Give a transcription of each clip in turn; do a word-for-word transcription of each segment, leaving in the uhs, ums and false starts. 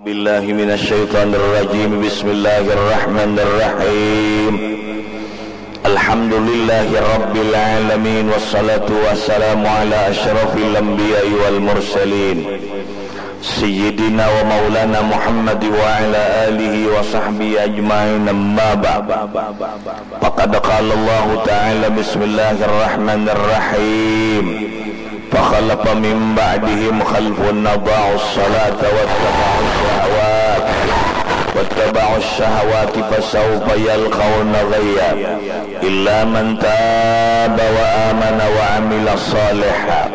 Billahi minasyaitonir rajim. Bismillahirrahmanirrahim. Alhamdulillahi rabbil alamin, wassalatu wassalamu ala asyrafil anbiya'i wal mursalin, sayyidina wa maulana Muhammad wa ala alihi wa sahbihi ajmain, amma ba'd. Faqad qala Allahu ta'ala, bismillahirrahmanirrahim. Fakhalafa min ba'dihim khalfun adha'us salata wattaba'us syahawat, wattaba'us syahawati fasawfa yalqawna ghayya, illa man taba wa amana wa amila salihan.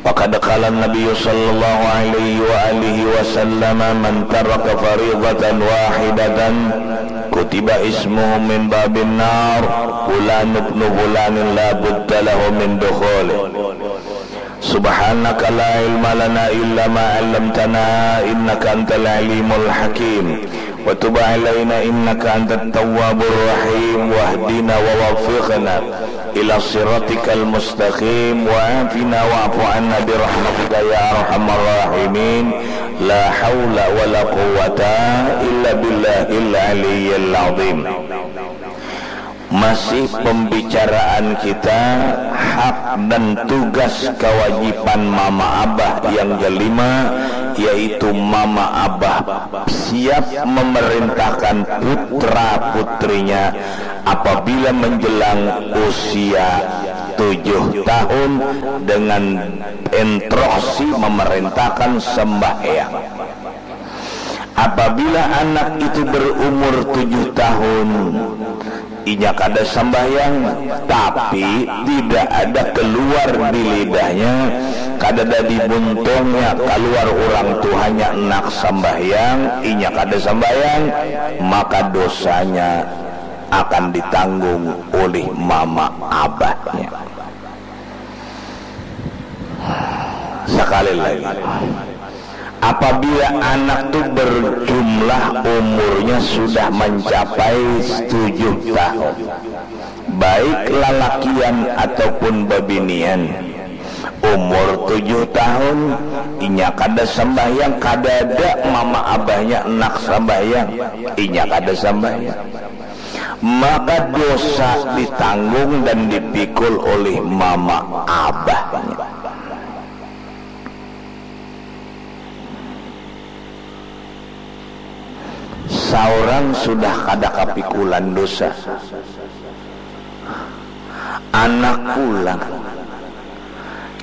Faqad qala Nabi sallallahu alaihi wa alihi wasallam, man taraka faridatan wahidatan kutiba ismuhu min babin nar, fulan ibnu fulanin la budda lahu min dukhulih. Subhanaka la ilma lana illa ma 'allamtana, innaka antal alimul hakim. Wa tub 'alaina innaka antat tawwabur rahim. Wahdina wa waffiqna ila siratikal mustaqim. Wa 'afina wa'fu 'anna bi rahmatika ya arhamar rahimin. La haula wa la quwwata illa billahil aliyyil azim. Masih pembicaraan kita hak dan tugas kewajiban mama abah yang kelima, yaitu mama abah siap memerintahkan putra putrinya apabila menjelang usia tujuh tahun dengan instruksi memerintahkan sembahyang. Apabila anak itu berumur tujuh tahun, inya kada sambahyang, tapi tidak ada keluar di lidahnya, kada ada di buntungnya, keluar orang tuhanya, anak sambahyang, inya kada sambahyang, maka dosanya akan ditanggung oleh mama abahnya. Sekali lagi, apabila anak tu berjumlah umurnya sudah mencapai tujuh tahun, baik lalakian ataupun babinian, umur tujuh tahun, inya kada sembahyang, kada ada mama abahnya anak sembahyang, inya kada sembahyang, maka dosa ditanggung dan dipikul oleh mama abahnya. Saurang sudah kada kapikulan dosa, anak pulang.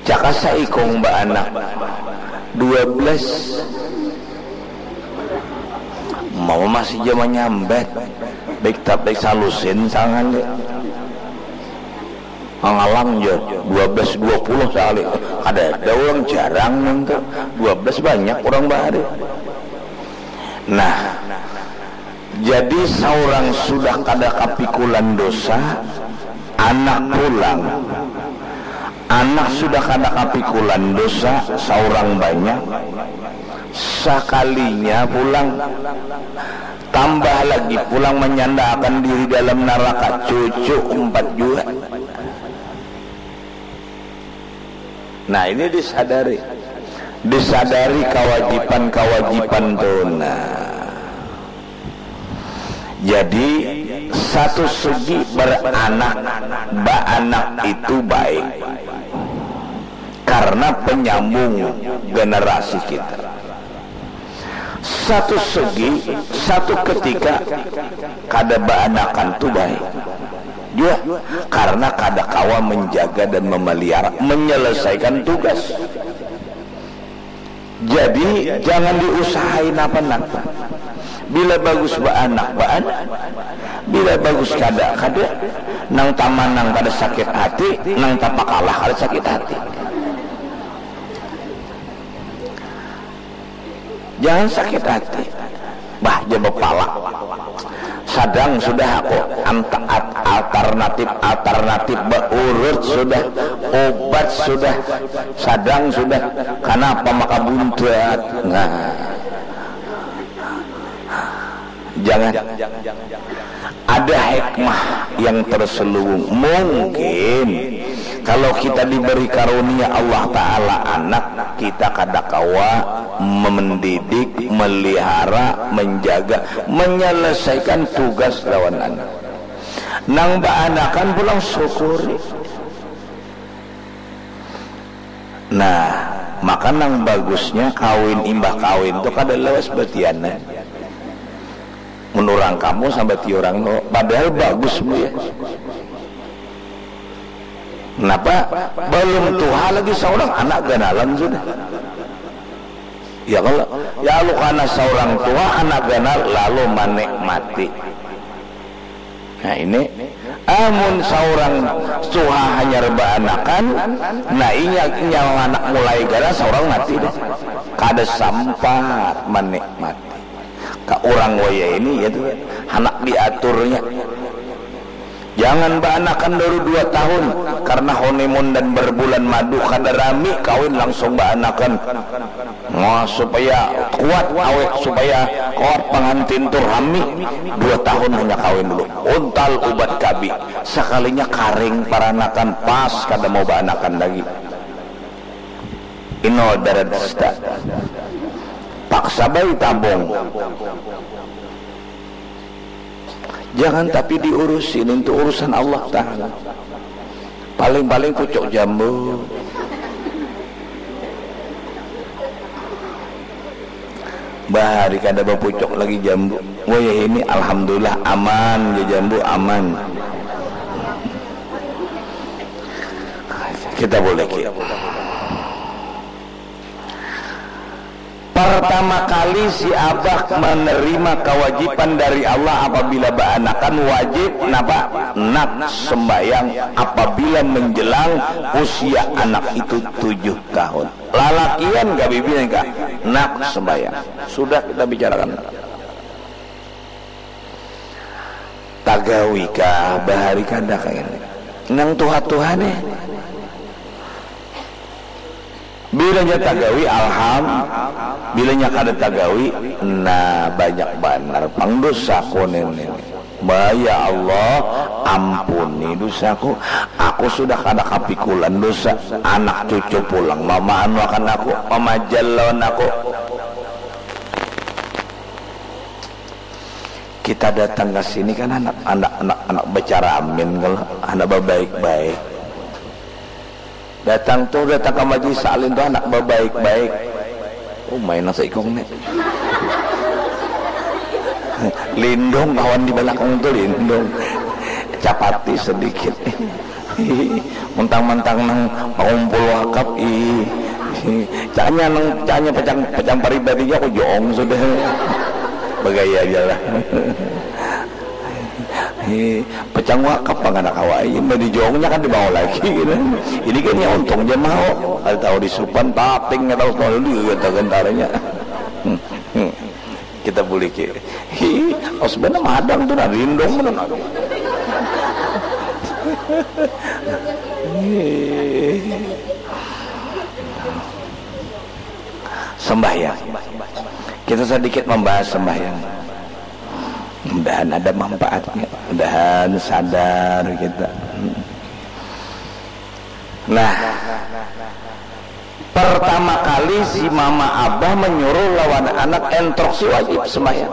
Cakasa ikung baanak dua belas. Mama masih ja manyambat. Baik tapi salusin sangan deh. Mangalang ja dua belas dua puluh sekali. Kada ada orang jarang nang tu. Dua belas banyak orang bahari. Nah, jadi saurang sudah kada kapikulan dosa, anak pulang. Anak sudah kada kapikulan dosa, saurang banyak. Sakalinya pulang, tambah lagi pulang manyandaakan diri dalam naraka, cucu umpat jua. Nah, ini disadari. Disadari kawajiban-kawajiban tu. Nah. Jadi, satu segi beranak, baanak itu baik. Karena penyambung generasi kita. Satu segi, satu ketika kada baanakan tu baik jua, karena kada kawa menjaga dan memelihara, menyelesaikan tugas. Jadi, jangan diusahai napa-napa. Bila bagus baanak, baanak. Bila bagus kada, kada. Nang tamanang kada sakit hati, nang tapakalah kada sakit hati. Jangan sakit hati. Bah, ja bapala. Sadang sudah aku anta-, at-, alternatif, alternatif baurut sudah, obat sudah, sadang sudah. Kanapa maka buntat? Nah. Jangan. Ada hikmah yang terselubung. Mungkin Kalau kita diberi karunia Allah Ta'ala anak, kita kada kawa mendidik, melihara, menjaga, menyelesaikan tugas lawan anak. Nang baanakan pulang syukuri. Nah, maka nang bagusnya kawin imbah kawin tu kada lawas batianan. Mun urang kampung sambat urang tu, padahal bagus bu ya. Napa? Balum tuha lagi saurang anak ganalan sudah. Ya kalo, ya lu kana saurang tuha anak ganal lalu manikmati. Nah ini, amun saurang tuha hanyar baanakan, nah inya, inya anak mulai ganal saurang mati deh. Kada sampat manikmati. Ka urang wayah ini ya tu, handak diaturnya. Jangan baanakan dulu dua tahun, karena honeymoon dan berbulan madu kada rami, kawin langsung baanakan. Nah, supaya kuat awet, supaya kuat pangantin tu rami, dua tahun hanya kawin dulu. Untal ubat kabi, sakalinya karing paranakan, pas kada mau baanakan lagi. Ino darah dusta. Paksa bayi tabung. Jangan tapi diurusin, itu urusan Allah Ta'ala. Paling-paling pucuk jambu. Bahari kada bapucuk lagi jambu. Wayah ini alhamdulillah aman ja jambu, aman. Kita boleh ki. Pertama kali si abah menerima kewajiban dari Allah apabila baanakan wajib napa? Nak sembahyang apabila menjelang usia anak itu tujuh tahun. Lalakian ka bibinian ka, nak sembahyang. Sudah kita bicarakan. Tagawi kah bahari kada kah ini? Nang tuha-tuha nih. Bilanya tagawi alham, bilanya kada tagawi, nah banyak banar pang dosaku nini. Bah ya Allah, ampuni dosaku. Aku sudah kada kapikulan dosa. Anak cucu pulang mamaanu akan aku, mamajal lawan aku. Kita datang ka sini kan handak, handak, handak, handak bacaramin kalo, handak babaik-baik. Datang tu, datang ka majlis taklim tu handak babaik-baik. Umai nang saikung ni. Lindung kawan di balakang tu, lindung. Capati sadikit. Mantang-mantang nang pangumpul wakaf, ih. Caknya nang, caknya pacang, pacang paribadi ja, aku joong sudah. Bagaya ja lah. Ih, pacang wakaf pang kada kawa, ih, badi joongnya kan dibawa lagi, gitu. Ini kan ya untung ja mau. Kada tahu disupan, taping, kada tahu, tahu dulu ganta-gantarnya. Kita buliki. Hi, pas banar madang tu nah, rindong banar nah. Sembahyang. Kita sedikit membahas sembahyang. Mudahan ada manfaatnya. Mudahan sadar kita. Nah, pertama kali si mama abah menyuruh lawan anak instruksi wajib sembahyang.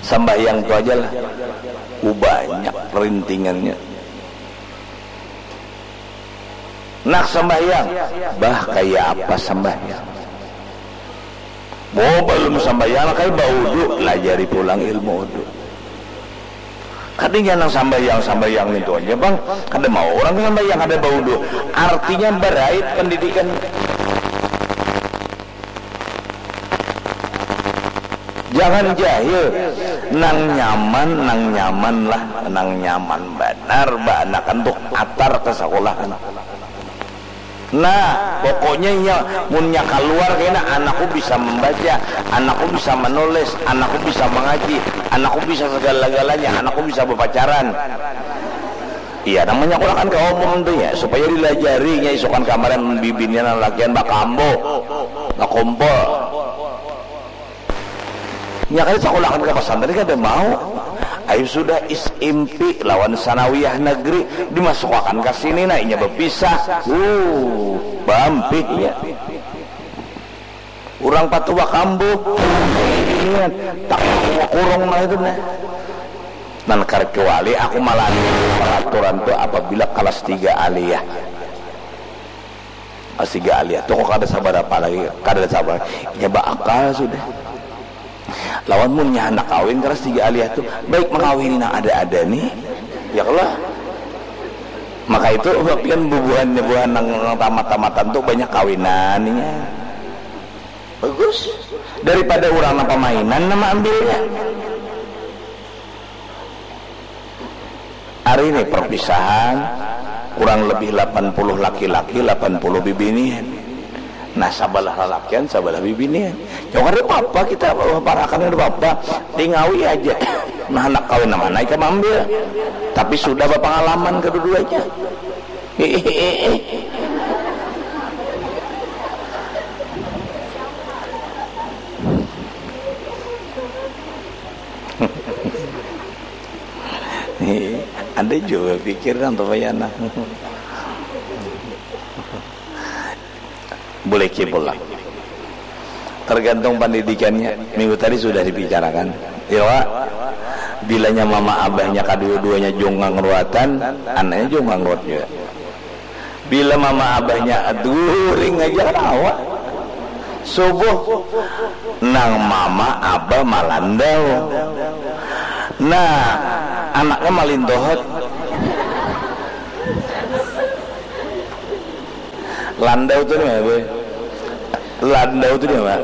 Sembahyang tu aja lah. Banyak rintingannya. Nak sembahyang, bah kaya apa sembahyang? Mau balum sambayang, kai baudu, lajari pulang ilmu udu. Kadinya nang sambayang, sambayang itu aja bang, kada mau orang sambayang kada baudu. Artinya berait pendidikan. Jangan jahil, nang nyaman, nang nyaman lah, nang nyaman banar baanakan tuh atar ke sekolahan. Nah, pokoknya iya, munnya kaluar kena, anakku bisa membaca, anakku bisa menulis, anakku bisa mengaji, anakku bisa segala-galanya, anakku bisa berpacaran. Iya, namanya kulakan kaum umum tu ya, supaya dilajarinya isukan kamaran bibinian lalakian bakambo, bakumpul. Nya kada sakulakan ka pasantren kada mau. Eh, sudah S M P lawan sanawiyah negeri, dimasukakan ka sini, nah, inya bapisah. Uh, bampihnya. Urang patuh bakambuh. Ini tak kurung lah itu, nah. Nan kecuali aku malah peraturan tu apabila kelas tiga aliyah. Kelas tiga aliyah tu kok kada sabarapa lagi, kada sabar. Inya baakal sudah. Lawan munnya handak kawin kelas tiga aliyah tu, baik mengawini nang ada-ada ni. Ya kalo. Maka itu, pian bubuhannya, buhan nang, nang tamat-tamatan tu banyak kawinan inya. Bagus. Daripada urang nang pamainan nang maambilnya. Ari ni perpisahan, kurang lebih lapan puluh laki-laki, lapan puluh bibinian. Nah, sabalah lalakian, sabalah bibinian. Ya, kada apa-apa kita, parakan kada apa-apa. Tingawi aja. Nah, handak kawin nang mana ikam ambil. Tapi sudah bapangalaman kedua-duanya. Ada jua pikir nang tu, Pak Yana. Boleh pulang. Tergantung pendidikannya. Minggu tadi sudah dibicarakan. Ya, Wak. Bilanya mama abahnya kadua-duanya jungkang ruatan, anaknya jungkang ruat juga. Bila mama abahnya guring aja kan awak. Subuh, nang mama abah malandau. Nah, anaknya malintohot. Landau tu nih, Boy. Landau tu dia, Pak.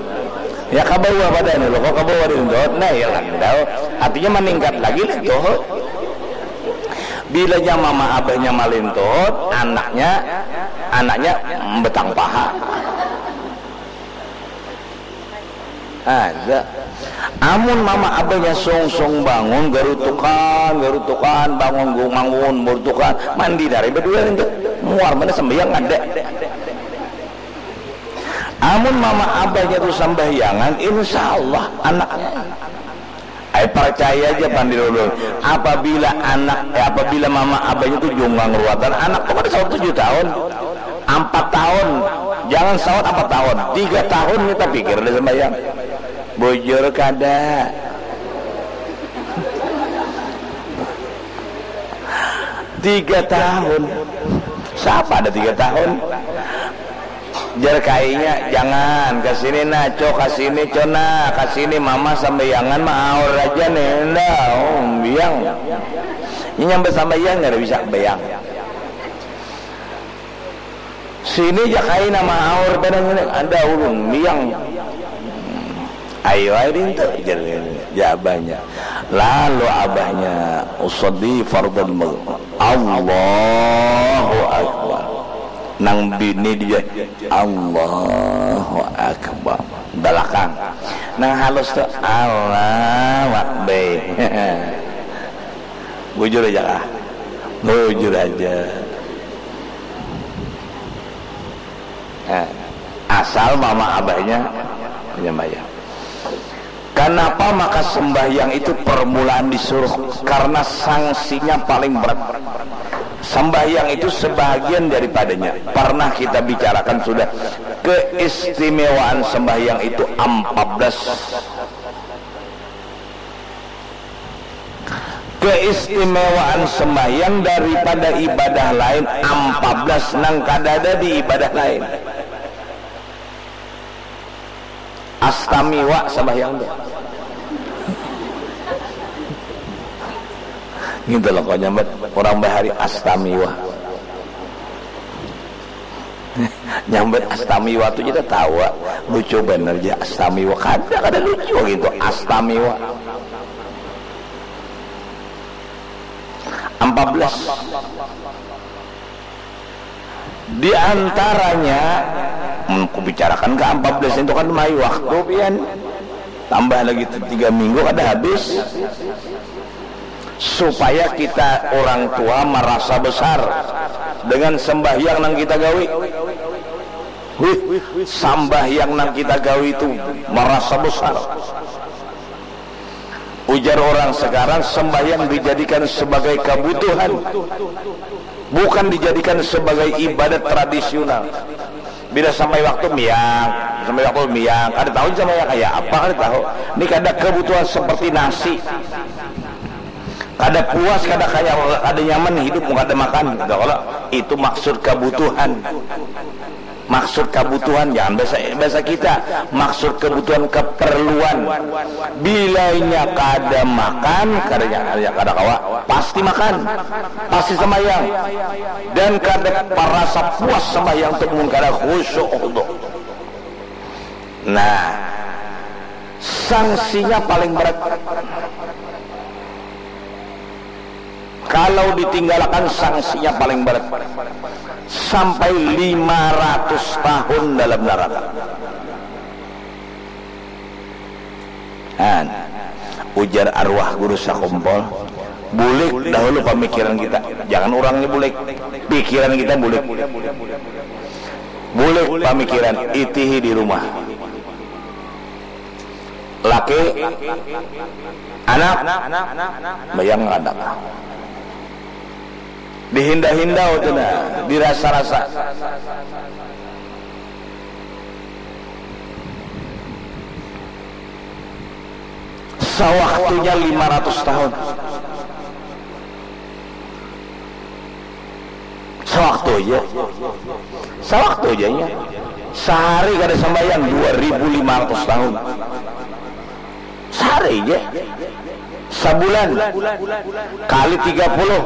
Ya, ka bawah badan lo, kok ka bawah dia, Dot? Nah, ya, landau. Artinya meningkat lagi lah, Dot. Bilanya mama abahnya malintot, anaknya, anaknya betang paha. Ada. Amun mama abahnya sungsung bangun, garutukan, garutukan, bangun, gungangun, garutukan, mandi dari berdua itu. Muar mana sembahyang ada. Amun mama abahnya tu sambahyangan, insya Allah anaknya. Ai, percaya aja, Pandit Ulun. Apabila anak, eh, apabila mama abahnya tu jungkang ruatan, anak tu kada sawat tujuh tahun, empat tahun, jangan sawat empat tahun, tiga tahun kita pikir ada sembahyang. Bujur kada. Tiga tahun. Siapa ada tiga tahun? Jar kainya, "Jangan, ka sini nah, Co, ka sini, Co, nah, ka sini, mama sambayangan maaur aja nih, nda, um, biang." Ini nyambat sambayang, kada bisa bayang. "Sini ja kaina maaur, banar ngini, ada ulun, biang." "Ayo ai dintu," jar, jar abahnya. Lalu abahnya, "Usolli fardal maghrib." Allahu Akbar. Nang bini dia, "Allahu Akbar." Balakang. Nang halus tu, "Allahu Akbar." Bujur aja kah? Bujur aja. Nah, asal mama abahnya menyambayang. Kenapa maka sembahyang itu permulaan disuruh? Karena sanksinya paling berat. Sembahyang itu sebahagian daripadanya. Pernah kita bicarakan sudah keistimewaan sembahyang itu empat belas. Keistimewaan sembahyang daripada ibadah lain empat belas nang kadada di ibadah lain. Astamiwa sambahyang tu. Gitu loh, kau nyambat orang bahari astamiwa. Nyambat astamiwa tu kita tawa. Lucu bener ja astamiwa. Kada, kada lucu gitu astamiwa. Empat belas. Di antaranya, hmm, ku bicarakan ke empat belas itu kan mai waktu pian. Tambah lagi tiga minggu kada habis. Supaya kita orang tua merasa besar dengan sembahyang nang kita gawi. Wih, sambahyang nang kita gawi itu merasa besar. Ujar orang sekarang, sembahyang dijadikan sebagai kebutuhan, bukan dijadikan sebagai ibadat tradisional. Bila sampai waktu miang, sampai waktu miang, kada tahu sampai kaya apa, kada tahu. Ini kada kebutuhan seperti nasi. Kada puas, kada kaya, kada nyaman hidup mun kada makan, gitu kalau. Itu maksud kebutuhan. Maksud kebutuhan, jangan bahasa, bahasa kita. Maksud kebutuhan, keperluan. Bila inya kada makan, kada, kada, kada kawa, pasti makan, pasti sembahyang. Dan kada parasa puas sembahyang tu mun kada khusyuk, khudu. Nah, sanksinya paling berat. Kalau ditinggalakan, sanksinya paling berat. Sampai lima ratus tahun dalam neraka. Nah, ujar arwah guru sakumpul, bulik dahulu pamikiran kita. Jangan urangnya bulik. Pikiran kita bulik. Bulik pamikiran, itihi di rumah. Laki, anak, bayang kada. Dihinda-hinda tu nah, dirasa-rasa. Sawaktunya lima ratus tahun. Sawaktu aja. Sawaktu aja nya. Sahari kada sambayang dua ribu lima ratus tahun. Sahari aja. Sabulan kali tiga puluh.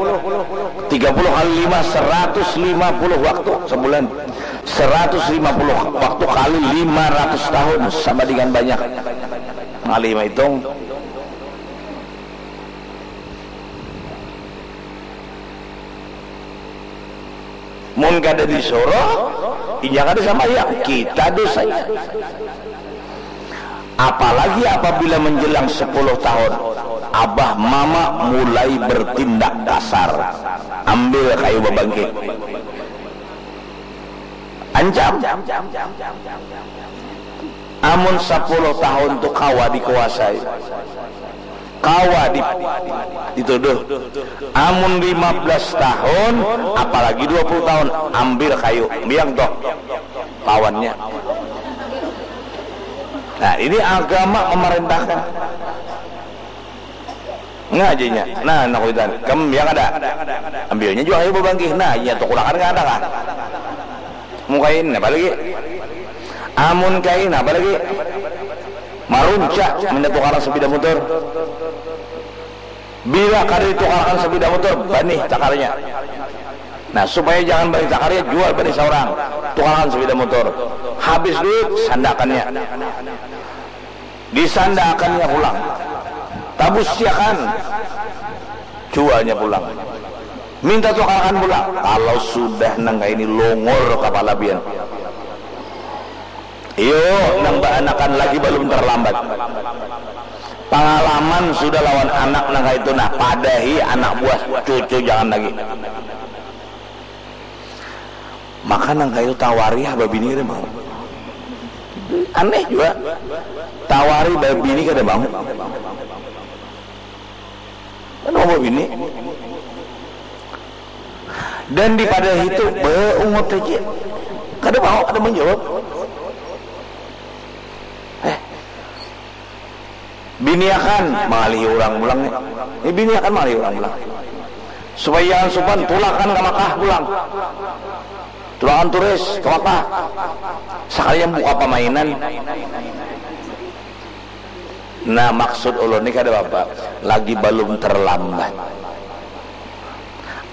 Tiga puluh kali lima, seratus lima puluh waktu sabulan. Seratus lima puluh waktu kali lima ratus tahun, sama dengan banyak. Ngalih maitung. Mun kada disuruh, inya kada sambayang, kita dosanya. Apalagi apabila menjelang sepuluh tahun, abah mama mulai bertindak kasar. Ambil kayu babangkit. Ancam. Amun sepuluh tahun tu kawa dikuasai, kawa di, dituduh. Amun lima belas tahun, apalagi dua puluh tahun, ambil kayu, biang toh lawannya. Nah, ini agama memerintahkan. Ngajinya. Nah, nak kuitan. Kam, ya kada? Ambilnya jua ayu babangkih. Nah, inya tukulakan kada kah? Mun kain, apa lagi? Amun kain, apa lagi? Marunca, minta tukaran sepeda motor. Bila kada ditukarakan sepeda motor, banih takarnya. Nah, supaya jangan banih takarnya, jual banih saurang. Tukarakan sepeda motor. Habis duit, sandakannya. Disandaakannya pulang. Tabusiakan. Jualnya pulang. Minta tukarakan pulang. Kalau sudah nang kaini longor kapala pian. Iyo, nang baanakan lagi balum tarlambat. Pangalaman sudah lawan anak nang kaitu, nah, padahi anak buah, cucu jangan lagi. Maka nang kaitu tawari ha babini kada mau. Aneh jua. Tawari babini kada mau. Kada mau babini. Dan dipadahi tu baungut haja. Kada mau, kada manjawab. Eh, biniakan, mangalihi urang pulang ni. Ini biniakan mangalihi urang pulang. Supaya jangan supan, tulakan ka Makkah pulang. Tulakan turis ka Makkah. Sakalinya buka pamainan. Nah, maksud ulun ni kada apa-apa. Lagi balum tarlambat.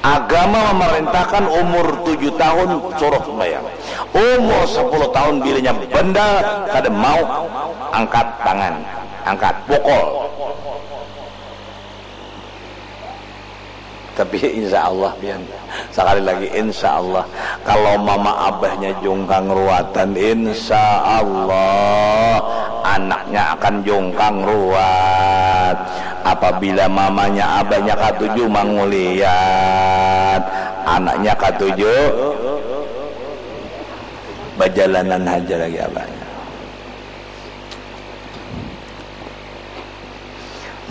Agama mamarintahkan umur tujuh tahun suruh sumbayang. Umur sapuluh tahun bilanya bandal kada mau, angkat tangan, angkat, pukul. Tapi insya Allah pian, sakali lagi insya Allah, kalau mama abahnya jungkang ruatan, insya Allah anaknya akan jungkang ruat. Apabila mamanya abahnya katuju manguliat, anaknya katuju bajalanan haja lagi abahnya.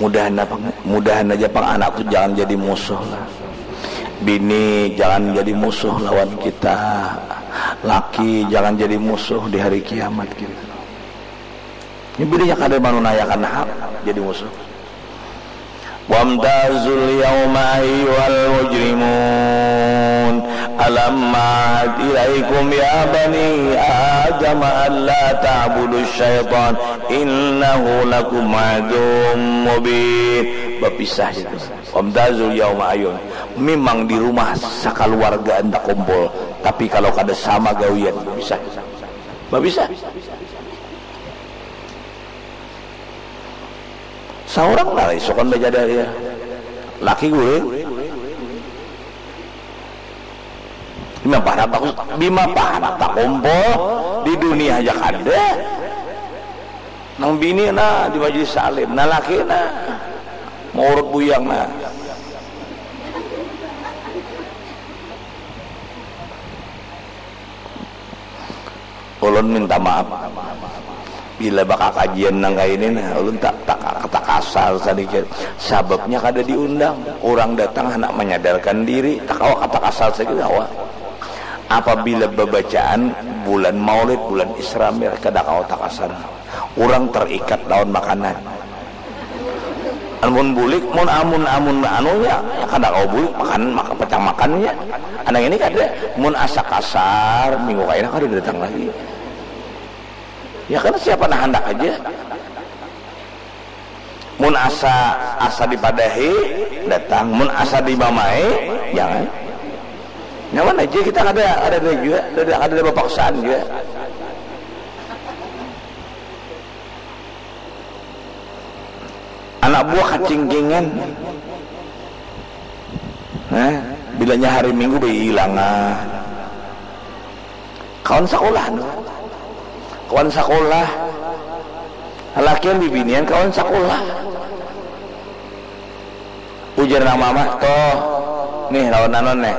Mudahan apa, mudahan aja pang anak tu jangan jadi musuh lah. Bini jangan jadi musuh lawan kita. Laki jangan jadi musuh di hari kiamat kita. Ini bininya kada manunayakan hak jadi musuh. Wamtazul yauma ayyuhal mujrimun. Alam ma'ad ilaikum ya bani Adam alla ta'budu syaitan innahu lakum aduwwum mubin. Bapisah itu. Wamtazul yauma ayyuhal. Memang di rumah sakaluargaan takumpul, tapi kalau kada sama gawian, bapisah. Bapisah. Saurang lah isukan bajada ya. Laki guring. Bima parak tak, bima parak takumpul di dunia aja kada. Nang bini nah di majlis salim, nah laki nah maurut buyang nah. Ulun minta maaf bila bakakajian nang kaya ini nah, ulun tak tak tak kasar sadikit. Sababnya kada diundang, urang datang handak manyadarkan diri, tak kawa kata kasar sadikit kawa. Apabila babacaan bulan Maulid, bulan Isra Mi'raj, kada kawa takasar. Urang terikat lawan makanan. Amun bulik, mun amun amun anunya, ya kada kawa bulik makan maka pacang makannya. Anak ini kada, mun asa kasar minggu kaina kada datang lagi. Ya kan siapa nah handak aja. Mun asa asa dipadahi datang, mun asa dimamai jangan. Nyaman aja kita kada ada ada juga, ada ada bapaksaan juga. Anak buah kacingkingan. Nah, bilanya hari Minggu bailangan. Kawan sakulah, kawan sakulah. Lakian bibinian kawan sakulah. Ujar nang mama, toh, nih lawan anon nih.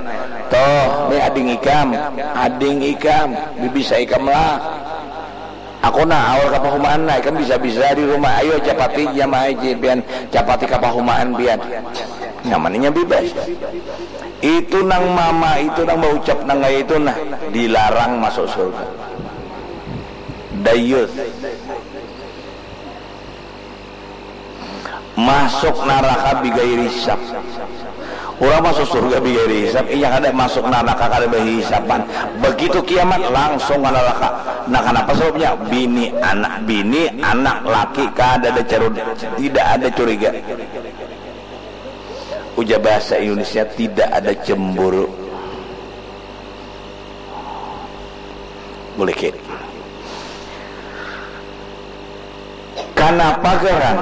Toh, nih ading ikam, ading ikam, bibisa ikam lah. Aku nah awal kapahumaan nah, ikam bisa-bisa di rumah, ayo capati jamaah pian, capati kapahumaan pian. Nyamannya bebas. Itu nang mama itu nang baucap nang kaya itu nah dilarang masuk surga. Dayus. Masuk naraka bigairi hisab. Urang masuk surga bigairi hisab, inya kada masuk naraka kada bahisaban. Begitu kiamat langsung ka naraka. Nah, kanapa sababnya? Bini anak, bini anak laki kada ada carud, tidak ada curiga. Ujar bahasa Indonesia tidak ada cemburu. Bulikit. Kanapa garang?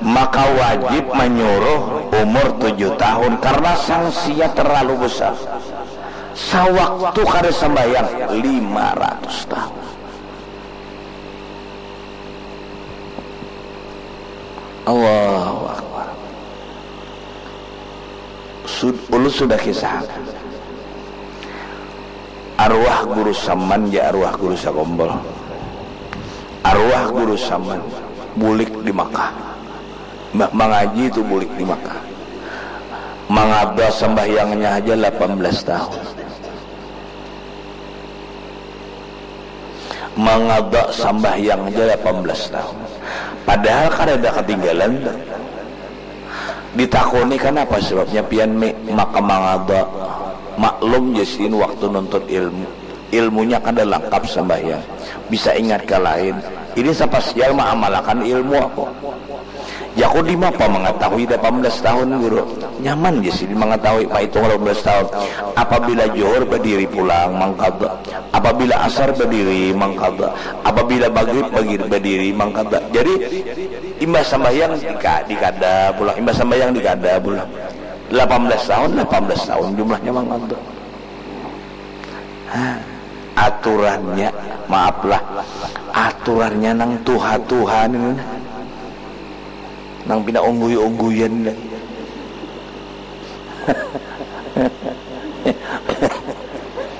Maka wajib manyuruh umur tujuh tahun karena sanksinya terlalu besar. Sawaktu kada sembahyang lima ratus tahun. Allahu Akbar. Sud, ulun sudah kisah. Arwah Guru Saman ja arwah Guru Sagombol. Arwah Guru Saman bulik di Makkah. Mbah mangaji tu bulik di Makkah. Mangada sambahyangnya aja lapan belas tahun. Mangada sambahyang aja lapan belas tahun. Padahal kada ada ketinggalan tu. Ditakuni kanapa sebabnya pian mi maka mangada. Maklum ja sidin waktu nuntut ilmu. Ilmunya kada langkap sambahyang. Bisa ingat ka lain. Ini sapasial maamalakan ilmu aku. Jaku dimapa mangatahui lapan belas tahun guru. Nyaman ja sidin mangatahui maitung lapan belas tahun. Apabila johor badiri pulang mangkada. Apabila asar badiri mangkada. Apabila magrib badiri mangkada. Jadi imbah sambahyang dikada pulang. Imbah sambahyang dikada pulang. Lapan belas tahun, lapan belas tahun jumlahnya mangkada. Aturannya, maaflah, aturannya nang tuha-tuha ni nang pina ungguy-ungguyan lagi.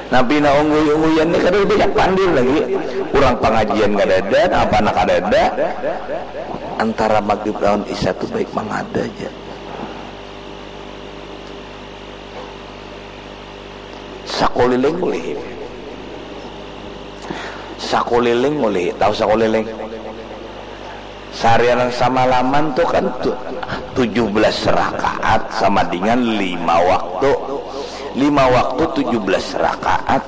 Nang pina ungguy-ungguyan ni kada banyak pandir lagi. Urang pangajian kada ada, nang apa anak kada ada. Antara maghrib lawan isya tu baik mangada ja. Sakuliling ulihi. Sakuliling ulihi. Tahu sakuliling? Seharian samalaman tu kan tu, tujuh belas rakaat sama dengan lima waktu. Lima waktu tujuh belas rakaat.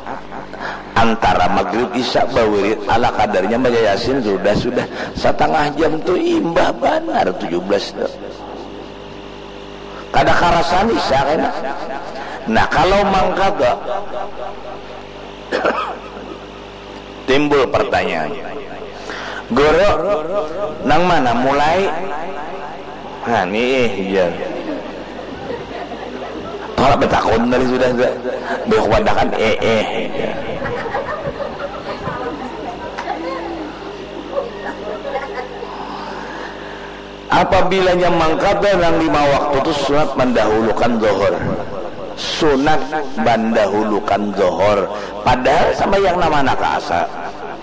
Antara maghrib isya bawirid ala kadarnya baca Yasin sudah, sudah. Satangah jam tu imbah banar tujuh belas tu. Kada karasan isya kena. Nah, kalau mangkada, timbul pertanyaan, "Guru, nang mana mulai?" Nah, nih jar. Tolak betakun tadi sudah, sudah. Beuh wadakan, eh, eh. Apabilanya mangkada nang lima waktu tu sunat mandahulukan zohor. Sunat mandahulukan zohor. Padahal sambahyang nang mana ka asa,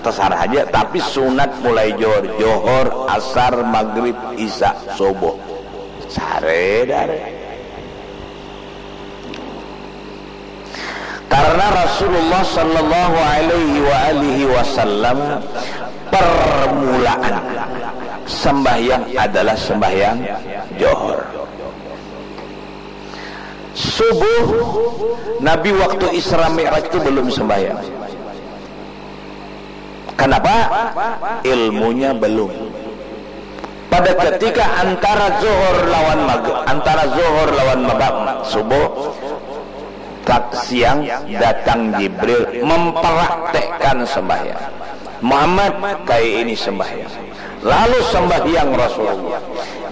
tasarah haja. Tapi sunat mulai johor. Johor, asar, maghrib, isya, subuh. Sare dare. Karena Rasulullah sallallahu alaihi wa alihi wasallam, permulaan sembahyang adalah sembahyang johor. Subuh, Nabi waktu Isra Mi'raj itu belum sembahyang. Kenapa? Ilmunya belum. Pada ketika antara zuhur lawan maghrib, antara zuhur lawan maghrib, subuh, tat-, siang, datang Jibril mempraktekkan sembahyang. "Muhammad, kayak ini sembahyang." Lalu sembahyang Rasulullah.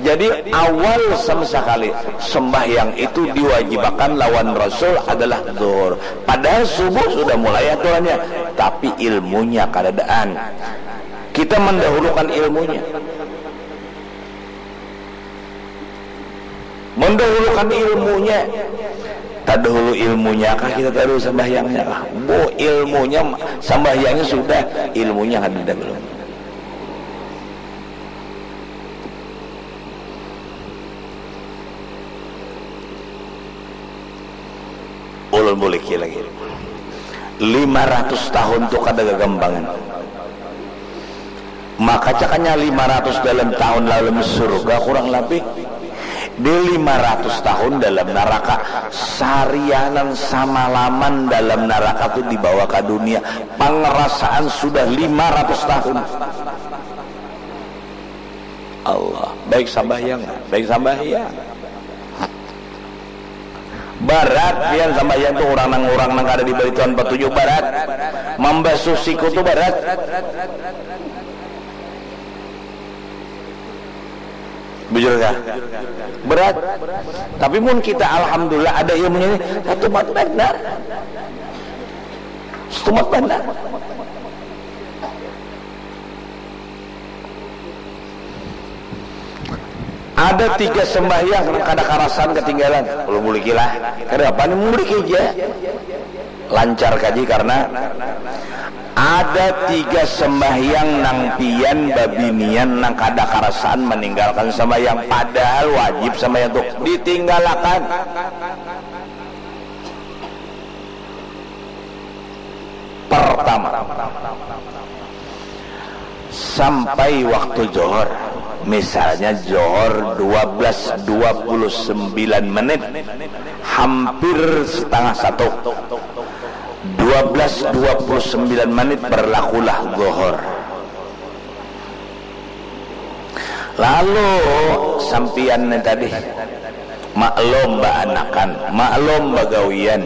Jadi, awal sama sekali sembahyang itu diwajibkan lawan Rasul adalah zuhur. Padahal subuh sudah mulai aturannya, tapi ilmunya kadadaan. Kita mendahulukan ilmunya. Mendahulukan ilmunya. Tadahulu ilmunya kah kita tadahulu sambahyangnya kah? Bu, ilmunya, sambahyangnya sudah, ilmunya kadada belum. Ulun buliki lagi. Lima ratus tahun tu kada gagampangan. Maka cakanya lima ratus dalam tahun dalam surga kurang labih. Di lima ratus tahun dalam naraka, sarianan samalaman dalam naraka tu dibawa ka dunia. Pangrasaan sudah lima ratus tahun. Allah, baik sambahyang, baik sambahyang. Barat pian sambahyang tu, urang nang, urang nang kada dibari Tuhan patuju, barat. Mambasuh siku tu barat. Bujur kah? Berat. Tapi mun kita alhamdulillah ada ilmunya ni, satumat banar. Satumat banar. Ada tiga sembahyang nang kada karasan ketinggalan. Kalau muliki lah. Kada apa ni, muliki ja. Lancar kaji karena ada tiga sembahyang nang pian babinian nang kada karasan meninggalkan sembahyang, padahal wajib sembahyang tu ditinggalakan. Pertama, sampai waktu johor, misalnya johor dua belas dua puluh sembilan menit, hampir setengah satu, dua belas dua puluh sembilan menit berlakulah johor. Lalu sampiyan ni tadi, maklum baanakan, maklum bagawian,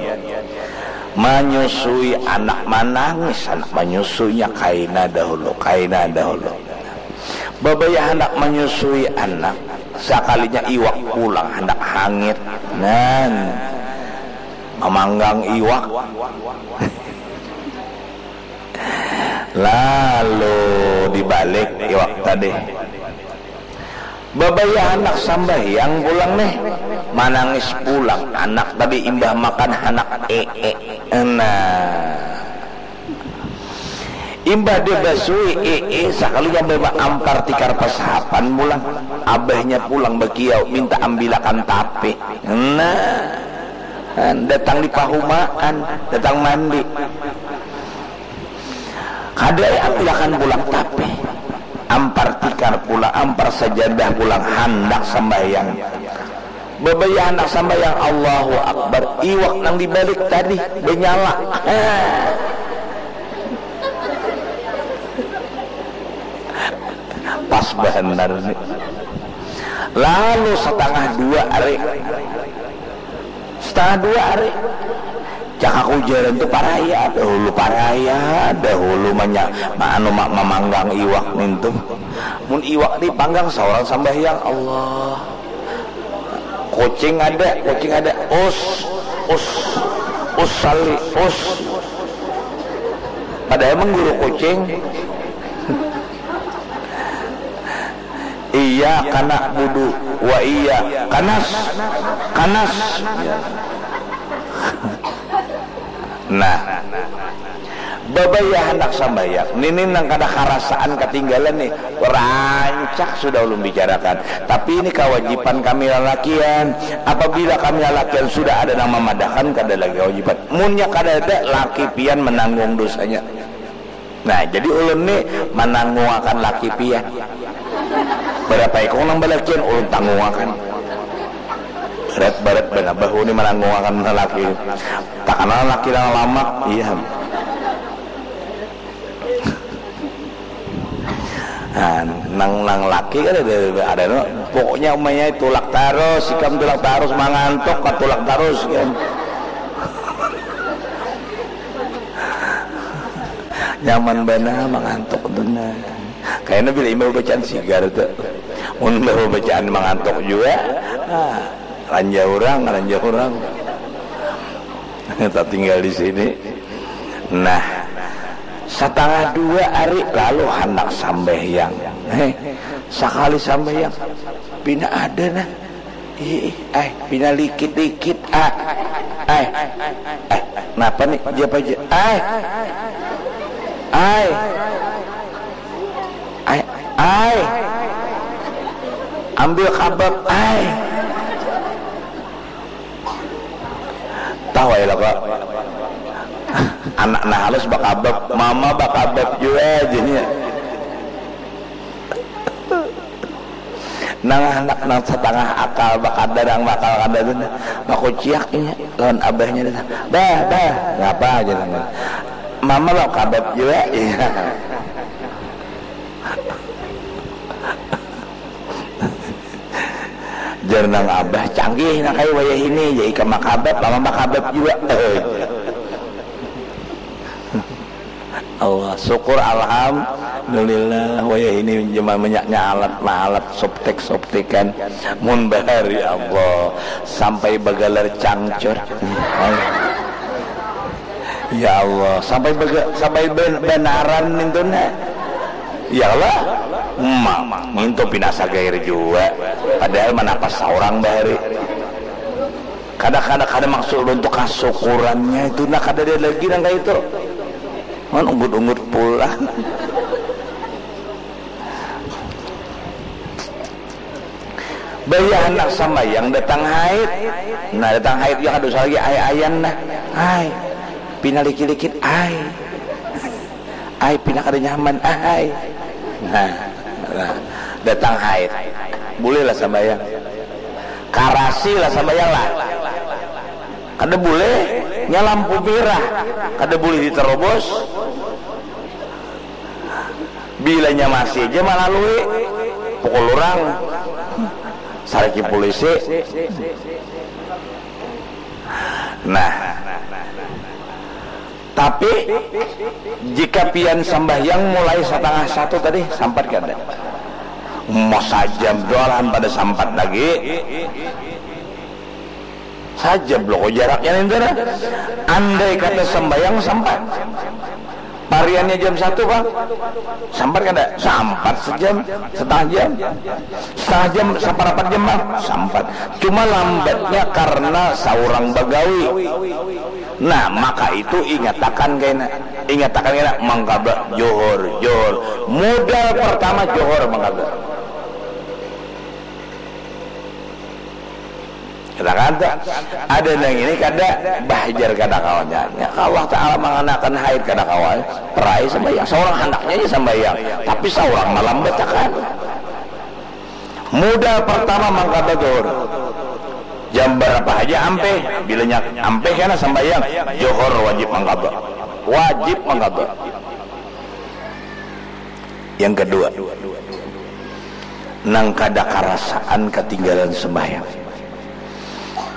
manyusui anak, manangis anak manyusuinya, kaina dahulu, kaina dahulu. Babaya handak manyusui anak, sakalinya iwak pulang handak hangit, nan mamanggang iwak. Lalu dibalik iwak tadi. Babaya handak sambahyang pulang nih, manangis pulang anak tadi imbah makan handak ee. Nah, Imbah dia basui, eh, eh, sakalinya bawa ampar tikar pasahapan pulang. Abahnya pulang bakiau, minta ambilakan tape. Nah, datang di pahumaan, datang mandi. Kada ambilakan pulang tape. Ampar tikar pulang, ampar sajadah pulang, handak sambahyang. Babaya handak sambahyang, Allahu Akbar. Iwak nang dibalik tadi banyala. Pas banar ni. Lalu satangah dua ari. Satangah dua ari. Cak aku jalan tu paraya, dahulu paraya, dahulu manya, ma-, anu, ma-, mamanggang iwak nintu. Mun iwak dipanggang saurang sambahyang, Allah. Kucing ada, kucing ada. Us, us, us sali, us. Padahal mengguru kucing. Iya kana budu, wa iya kanas, kanas. Nah, babaya handak sambahyang. Nini nang kada karasaan katinggalan nih. Rancak sudah ulun bicarakan. Tapi ini kawajiban kami lalakian. Apabila kami lalakian sudah ada nang mamadahkan, kada lagi kawajiban. Munnya kada ada, laki pian menanggung dosanya. Nah, jadi ulun ni mananggungakan laki pian. Berapa ikung nang balakian, ulun tanggungakan. Berat, berat banar bahu ni mananggungakan laki. Takana laki nang lamak, iya. Nah, nang, nang laki kan ada, ada no. Pokoknya umanya tulak tarus, ikam tulak tarus, mangantuk ka tulak tarus kan. Nyaman banar mangantuk tu nah. Kayaknya bila imbah bacaan sigar tu. Mun imbah bacaan mangantuk juga. Nah, ranja urang, ranja urang. Kita tinggal di sini. Nah, satangah dua ari lalu handak sambahyang. Heh, sakali sambahyang, pina ada nah. Ih, ih, ai, pina likit-likit, ah. Ai, ai, napa nih? Siapa aja? Ai, ai, ai, ai, ambil kabab, ai. Tahu ya lah kok. Anak nah halus bakabab, mama bakabab juga jadinya. Nang anak nang satangah akal bakada nang bakal kada tu nah, bakuciak inya lawan abahnya tu nah, bah, bah, ngapa aja nang, mama lo kabab jua. Iya. Jar nang abah, canggih nang kayu wayah ini, jadi ikam makabab, mama makabab jua. Allah, syukur, alhamdulillah, wayah ini cuma menyaknya alat, alat subtek, subtekan. Mun bahari Allah, sampai bagalar cangcur. Ya Allah, sampai bega, sampai ben, benaran nintu nah. Ya Allah, emang nintu pina sagair jua. Padahal manapas saurang bahari. Kada, kada, kada maksud untuk kasukurannya itu nah, kada ada lagi nang kayak itu. Man unggut-unggut pulang. Bayah handak sambayang datang haid. Nah, datang haid ya kada usah lagi ai-aian nah. Ai, pina likit-likit ai. Ai, pina kada nyaman ai. Nah, nah, datang haid. Bolehlah sambayang. Karasi lah sambayang lah. Kada boleh nya lampu merah. Kada boleh diterobos. Bilanya masih aja malalui, pukul orang, sariki polisi. Nah, tapi jika pian sambahyang mulai setengah satu tadi, sampat kada? Mau sajam doa lahan pada sampat lagi. Sajam lo kok jaraknya nintu nah. Andai kata sembayang sempat. Pariannya jam satu, Pak. Sempat kada? Sempat sejam, setengah jam. Setengah jam, saparapat jam, Pak. Sempat. Cuma lambatnya karena saurang bagawi. Nah, maka itu ingatakan kaina. Ingatakan kaina, mangkada johor, johor. Modal pertama johor mangkada. Katakan tu, ada nang ini kada bahajar kada kawannya. Ya, Allah Ta'ala manganakan haid kada kawa. Perai sambayang. Seorang handaknya aja sambayang. Tapi seorang malam batakan. Modal pertama mangkada johor. Jam berapa aja ampeh, bilanya ampeh kena sambayang, johor wajib mangkada. Wajib mangkada. Yang kedua, nang kada karasaan ketinggalan sembahyang.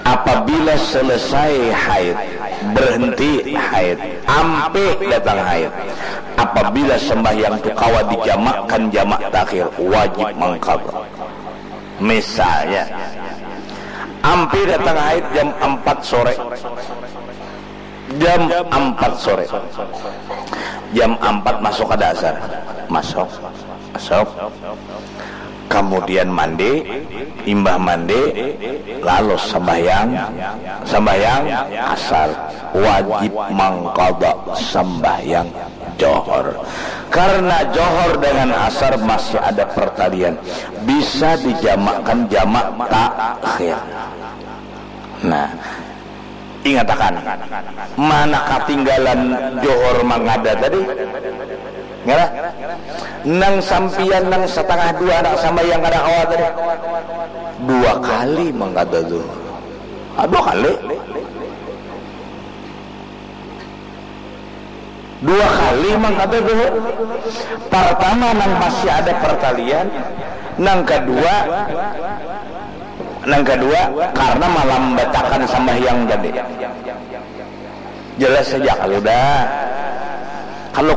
Apabila selesai haid, berhenti haid, ampih datang haid. Apabila sembahyang tu kawa dijamakkan jamak takhir, wajib mangkada. Misalnya, ampih datang haid jam empat sore. Jam empat sore. Jam empat masuk kada asar. Masuk. Masuk. Kemudian mandi, imbah mandi, lalu sembahyang, sembahyang asar. Wajib mangkada sembahyang johor. Karena johor dengan asar masih ada pertalian. Bisa dijamakkan jamak takhir. Nah, ingatakan, mana katinggalan johor mangkada tadi? Ngara? Nang sampiyan nang setengah dua anak sambayang kada kawa tadi. Dua kali mangkada johor. Ah, dua kali. Dua kali mangkada johor. Pertama nang masih ada pertalian, nang kedua, nang kedua karena malambatakan sambahyang tadi. Jelas saja kalau dah. Kalau